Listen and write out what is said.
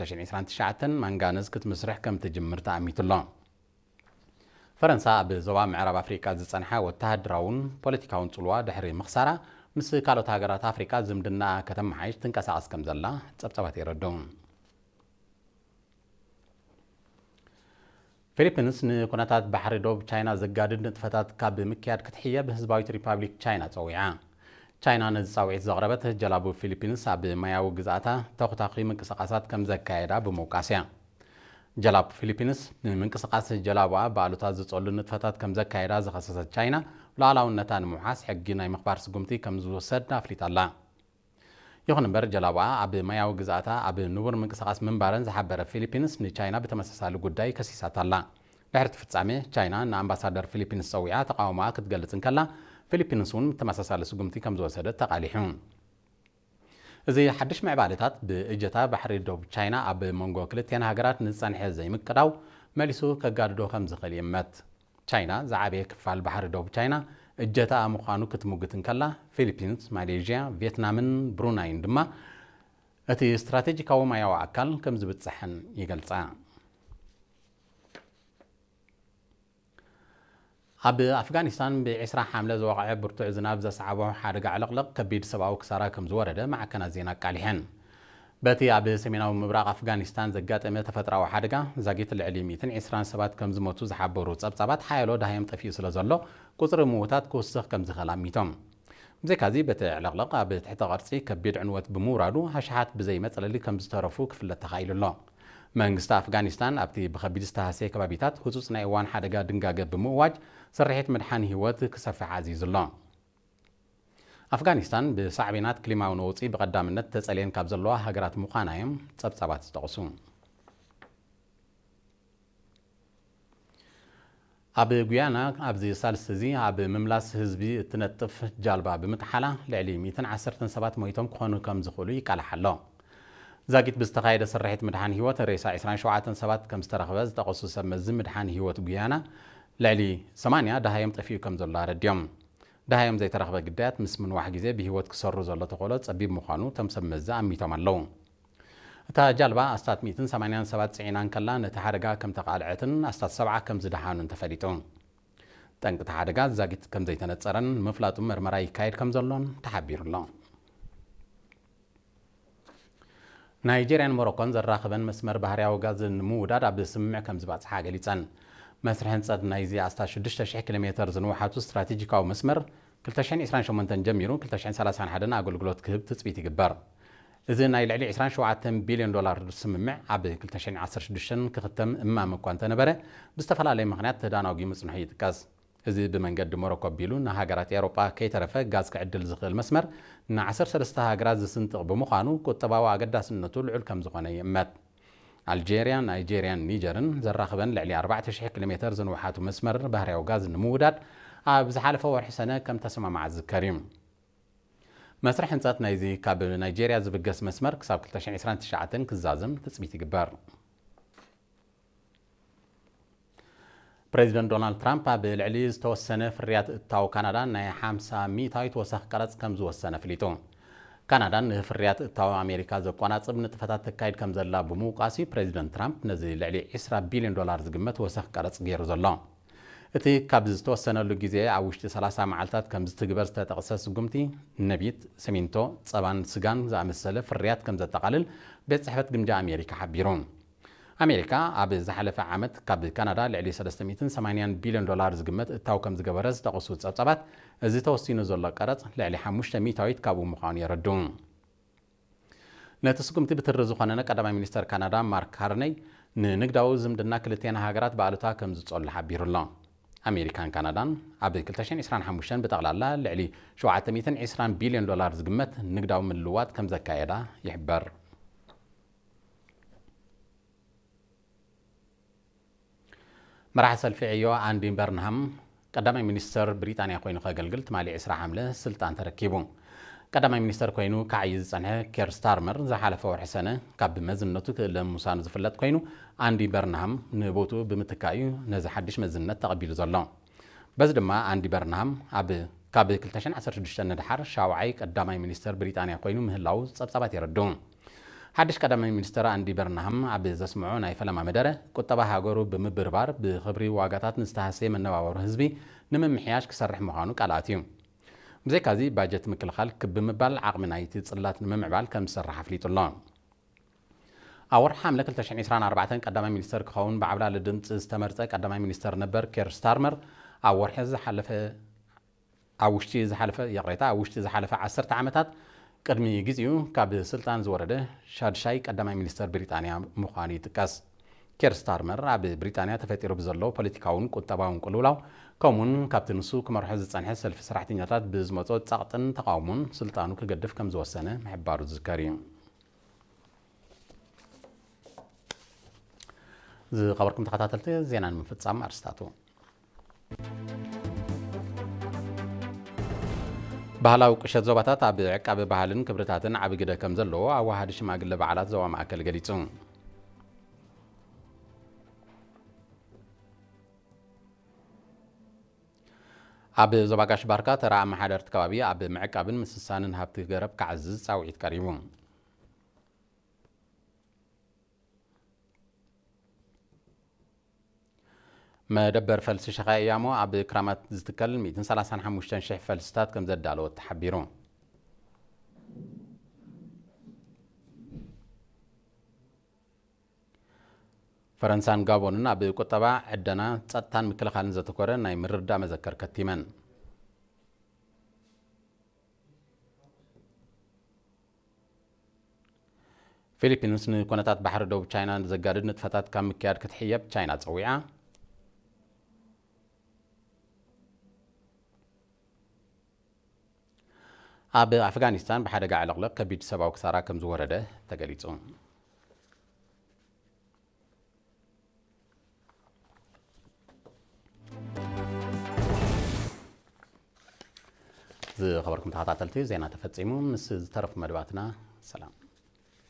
ክልተ ሽሕን ዕስራን ትሽዓተን ማንጋነዝ ክትምስርሕ ከም ትጅምር ተኣሚቱ ኣሎ። ፈረንሳ ኣብ ዞባ ምዕራብ ኣፍሪቃ ዝጸንሐ ወተሃደራውን ፖለቲካውን ጽልዋ ድሕሪ ምኽሳራ፣ ምስ ካልኦት ሃገራት ኣፍሪቃ ዝምድና ከተመሓይሽ ትንቀሳቐስ ከም ዘላ ጸብጻባት የረድኡ። ፊሊፒንስ ንኩነታት ባሕሪ ዶብ ቻይና ዘጋድድ ንጥፈታት ካብ ምክያድ ክትሕየብ ህዝባዊት ሪፓብሊክ ቻይና ጸዊዓ። ቻይና ነዚ ጻውዒት ዘቕረበት፣ ጀላቡ ፊሊፒንስ ኣብ ማያዊ ግዝኣታ ተኹታኺ ምንቅስቓሳት ከም ዘካየዳ ብምውቃስ እያ። ጀላቡ ፊሊፒንስ ንምንቅስቓስ ጀላቡኣ ብኣሉታ ዝጸሉ ንጥፈታት ከም ዘካየዳ ዝኸሰሰት ቻይና፣ ሉዓላውነታ ንምውሓስ ሕጊ ናይ ምኽባር ስጉምቲ ከም ዝወሰድ ኣፍሊጣ ኣላ። ይኹን እምበር፣ ጀላቡኣ ኣብ ማያዊ ግዝኣታ ኣብ ንቡር ምንቅስቓስ ምንባረን ዝሓበረ ፊሊፒንስ ንቻይና ብተመሳሳሊ ጉዳይ ከሲሳታ ኣላ። ድሕሪ እቲ ፍጻሜ፣ ቻይና ንኣምባሳደር ፊሊፒንስ ጸዊዓ ተቓውሞኣ ክትገልጽ እንከላ፣ ፊሊፒንስ እውን ተመሳሳሊ ስጉምቲ ከም ዝወሰደት ተቓሊሑ። እዚ ሓድሽ ምዕባለታት፣ ብእጀታ ባሕሪ ዶብ ቻይና ኣብ መንጎ ክልቲኣን ሃገራት ንዝጸንሐ ዘይምቅዳው መሊሱ ከጋድዶ ከም ዝኽእል ይእመት። ቻይና ዝዓበየ ክፋል ባሕሪ ዶብ ቻይና እጀታኣ ምዃኑ ክትምጉት እንከላ፣ ፊሊፒንስ፣ ማሌዥያ፣ ቪየትናምን ብሩናይን ድማ እቲ ስትራቴጂካዊ ማያዊ ኣካል ከም ዝብጽሐን ይገልጻ። ኣብ ኣፍጋኒስታን ብ ዕስራ ሓምለ ዝወቕዐ ብርቱዕ ዝናብ ዘስዓቦ ሓደጋ ዕልቕልቕ ከቢድ ሰብኣዊ ክሳራ ከም ዝወረደ ማዕከናት ዜና ኣቃሊሐን። በቲ ኣብ ሰሜናዊ ምብራቕ ኣፍጋኒስታን ዘጋጠመ ተፈጥሮኣዊ ሓደጋ ዛጊት ልዕሊ ሚእትን ዕስራን ሰባት ከም ዝሞቱ ዝሓበሩ ጸብጻባት፣ ሓያሎ ደሃዮም ጠፊኡ ስለ ዘሎ፣ ቁጽሪ ምዉታት ክውስኽ ከም ዝኽእል ኣሚቶም። ብዘይካዚ፣ በቲ ዕልቕልቕ ኣብ ትሕተ ቅርጺ ከቢድ ዕንወት ብምውራዱ፣ ኣሽሓት ብዘይ መጽለሊ ከም ዝተረፉ ክፍለጥ ተኻኢሉ ኣሎ። መንግስቲ ኣፍጋኒስታን ኣብቲ ብኸቢድ ዝተሃስየ ከባቢታት ህጹጽ ናይ እዋን ሓደጋ ድንጋገ ብምእዋጅ፣ ስርሒት ምድሓን ህይወት ክሰፍሕ ኣዚዙ ኣሎ። ኣፍጋኒስታን ብሳዕቤናት ክሊማዊ ነውጺ ብቐዳምነት ተጸልየን ካብ ዘለዋ ሃገራት ምዃና እዮም ጸብጻባት ዝጠቕሱ። ኣብ ጉያና ኣብዚ ሳልስቲ እዚ ኣብ ምምላስ ህዝቢ እትነጥፍ ጃልባ ብምጥሓላ ልዕሊ ሚእትን ዓሰርተን ሰባት ሞይቶም ክኾኑ ከም ዝኽእሉ ይቃላሕ ኣሎ። ዛጊት ብዝተኻየደ ስርሒት ምድሓን ህይወት ሬሳ ዕስራን ሸውዓተን ሰባት ከም ዝተረኽበ ዝጠቐሱ ሰብ መዚ ምድሓን ህይወት ጉያና፣ ልዕሊ ሰማንያ ደሃዮም ጠፊኡ ከም ዘሎ ኣረድዮም። ደሃዮም ዘይተረኽበ ግዳያት ምስ ምንዋሕ ግዜ ብህይወት ክሰሩ ዘሎ ተኽእሎ ጸቢብ ምዃኑ እቶም ሰብ መዚ ኣሚቶም ኣለዉ። እታ ጃልባ ኣስታት ሚእትን ሰማንያን ሰባት ጽዒና እንከላ፣ ነቲ ሓደጋ ከም ተቓልዐትን ኣስታት ሰብዓ ከም ዝደሓኑን ተፈሊጡ። ጠንቂ እቲ ሓደጋ ዛጊት ከም ዘይተነጸረን ንምፍላጡ መርመራ ይካየድ ከም ዘሎን ተሓቢሩ ኣሎ። ናይጄርያን ሞሮኮን ዘራኽበን መስመር ባህርያዊ ጋዝ ንምውዳድ ኣብ ስምምዕ ከም ዝባጽሓ ገሊጸን። መስርሕ ህንጸት ናይዚ ኣስታት ሽዱሽተ ሽሕ ኪሎ ሜተር ዝንውሓቱ ስትራቴጂካዊ መስመር፣ ክልተ ሽሕን ዕስራን ሸሞንተን ጀሚሩ ክልተ ሽሕን ሰላሳን ሓደን ኣገልግሎት ክህብ ትጽቢት ይግበር። እዚ ናይ ልዕሊ ዕስራን ሸውዓተን ቢልዮን ዶላር ስምምዕ ኣብ ክልተ ሽሕን ዓሰርተ ሽዱሽተን ክኽተም እማመ እኳ እንተነበረ፣ ብዝተፈላለየ ምኽንያት ተዳናጒ ምጽንሑ ይጥቀስ። እዚ ብመንገዲ ሞሮኮ ኣቢሉ ንሃገራት ኤውሮጳ ከይተረፈ ጋዝ ክዕድል ዝኽእል መስመር፣ ንዓሰርተ ሰለስተ ሃገራት ዝስንጥቕ ብምዃኑ፣ ቁጠባዊ ኣገዳስነቱ ልዑል ከም ዝኾነ ይእመት። ኣልጄርያ፣ ናይጄርያን ኒጀርን ዘራኽበን ልዕሊ ኣርባዕተ ሽሕ ኪሎ ሜተር ዝንውሓቱ መስመር ባህርያዊ ጋዝ ንምውዳድ፣ ኣብ ዝሓለፈ ወርሒ ሰነ ከም ተሰማምዓ ዝዝከር እዩ። መስርሕ ህንጸት ናይዚ ካብ ናይጄርያ ዝብገስ መስመር ክሳብ ክልተ ሽሕን ዕስራን ትሽዓተን ክዛዝም ትጽቢት ይግበር። ፕሬዚደንት ዶናልድ ትራምፕ ኣብ ልዕሊ ዝተወሰነ ፍርያት እታው ካናዳ ናይ ሓምሳ ሚእታዊት ወሰኽ ቀረጽ ከም ዝወሰነ ኣፍሊጡ። ካናዳ ንፍርያት እታው ኣሜሪካ ዘቆናጽብ ንጥፈታት ተካይድ ከም ዘላ ብምውቃስ እዩ ፕሬዚደንት ትራምፕ ነዚ ልዕሊ ዕስራ ቢልዮን ዶላር ዝግመት ወሰኽ ቀረጽ ገይሩ ዘሎ። እቲ ካብ ዝተወሰነሉ ግዜ ኣብ ውሽጢ ሰላሳ መዓልታት ከም ዝትግበር ዝተጠቕሰ ስጉምቲ፣ ነቢት፣ ሲሚንቶ፣ ጸባን ስጋን ዝኣመሰለ ፍርያት ከም ዘጠቓልል ቤት ጽሕፈት ግምጃ ኣሜሪካ ሓቢሩ። ኣሜሪካ ኣብ ዝሓለፈ ዓመት ካብ ካናዳ ልዕሊ ሰለስተ ሚእትን ሰማንያን ቢልዮን ዶላር ዝግመት እታው ከም ዝገበረ ዝጠቐሱ ጸብጻባት፣ እዚ ተወሲኑ ዘሎ ቀረጽ ልዕሊ ሓሙሽተ ሚእታዊት ካብኡ ምዃኑ የረድኡ። ነቲ ስጉምቲ ብትሪ ዝኾነነ ቀዳማይ ሚኒስተር ካናዳ ማርክ ካርነይ፣ ንንግዳዊ ዝምድና ክልቲኣን ሃገራት ብኣሉታ ከም ዝጸሉ ሓቢሩ ኣሎ። ኣሜሪካን ካናዳን ኣብ ክልተ ሽሕን ዕስራን ሓሙሽተን ብጠቕላላ ልዕሊ ሸውዓተ ሚእትን ዕስራን ቢልዮን ዶላር ዝግመት ንግዳዊ ምልውዋጥ ከም ዘካየዳ ይሕበር። መራሒ ሰልፊ ዕዮ ኣንዲ በርንሃም ቀዳማይ ሚኒስተር ብሪጣንያ ኮይኑ ከገልግል ትማሊ ዕስራ ሓምለ ስልጣን ተረኪቡ። ቀዳማይ ሚኒስተር ኮይኑ ክዓዪ ዝጸንሐ ኬር ስታርመር ዝሓለፈ ወርሒ ሰነ ካብ መዝነቱ ክእለ ምውሳኑ ዝፍለጥ ኮይኑ፣ ኣንዲ በርንሃም ንቦትኡ ብምትካእ እዩ ነዚ ሓድሽ መዝነት ተቐቢሉ ዘሎ። በዚ ድማ ኣንዲ በርንሃም ኣብ፣ ካብ ክልተ ሽሕን ዓሰርተ ሽዱሽተ ንድሓር ሻውዓይ ቀዳማይ ሚኒስተር ብሪጣንያ ኮይኑ ምህላዉ ጸብጻባት የረድኡ። ሓድሽ ቀዳማይ ሚኒስተር ኣንዲ በርንሃም ኣብ ዘስምዖ ናይ ፈለማ መደረ፣ ቁጠባ ሃገሩ ብምብርባር ብኽብሪ ዋጋታት ንዝተሃሰየ መነባበሮ ህዝቢ ንምምሕያሽ ክሰርሕ ምዃኑ ቃል ኣትዩ። ብዘይካዚ፣ ባጀት ምክልኻል ክብ ብምባል ዓቕሚ ናይቲ ጽላት ንምምዕባል ከም ዝሰርሕ ኣፍሊጡ ኣሎ። ኣብ ወርሒ ሓምለ ክልተ ሽሕን ዕስራን ኣርባዕተን ቀዳማይ ሚኒስተር ክኸውን ብዓብላሊ ድምጺ ዝተመርጸ ቀዳማይ ሚኒስተር ነበር ኬር ስታርመር፣ ኣብ ወርሒ ዝሓለፈ ኣብ ውሽጢ ዝሓለፈ ይቕሬታ ኣብ ውሽጢ ዝሓለፈ ዓሰርተ ዓመታት ቅድሚ ግዜኡ ካብ ስልጣን ዝወረደ ሻድሻይ ቀዳማይ ሚኒስተር ብሪጣንያ ምዃኑ ይጥቀስ። ኬር ስታርመር ኣብ ብሪጣንያ ተፈጢሩ ብዘሎ ፖለቲካውን ቁጠባውን ቅልውላው፣ ከምኡውን ካብቲ ንሱ ክመርሖ ዝጸንሐ ሰልፊ ሰራሕተኛታት ብዝመጾ ጸቕጥን ተቓውሞን ስልጣኑ ክገድፍ ከም ዝወሰነ ምሕባሩ ዝዝከር እዩ። ዝኸበርኩም ተኸታተልቲ፣ ዜና ንምፍጻም ኣርስታቱ። ባህላዊ ቁሸት ዞባታት ኣብ ዕቃበ ባህልን ክብርታትን ዓቢ ግደ ከም ዘለዎ ኣዋሃዲ ሽማግለ በዓላት ዞባ ማእከል ገሊጹ። ኣብ ዞባ ጋሽ ባርካ ተራ ኣመሓደርቲ ከባቢ ኣብ ምዕቃብን ምስሳንን ሃብቲ ገረብ ክዓዝዝ ጻውዒት ቀሪቡ። መደበር ፈልሲ ሸኻ ያሞ ኣብ ክራማት ዝትከል ሚእትን ሰላሳን ሓሙሽተን ሽሕ ፈልስታት ከም ዘዳለወ ተሓቢሩ። ፈረንሳን ጋቦንን ኣብ ቁጠባ፣ ዕደና፣ ጸጥታን ምክልኻልን ዘተኮረ ናይ ምርድዳእ መዘከር ከቲመን። ፊሊፒንስ ንኩነታት ባሕሪ ደቡብ ቻይና ዘጋድድ ንጥፈታት ካብ ምክያድ ክትሕየብ ቻይና ጸዊዓ። ኣብ ኣፍጋኒስታን ብሓደጋ ዕልቕልቕ ከቢድ ሰብኣዊ ክሳራ ከም ዝወረደ ተገሊጹ። ዝኸበርኩም ተኸታተልቲ፣ ዜና ተፈጺሙ። ምስ ዝተረፉ መደባትና ሰላም።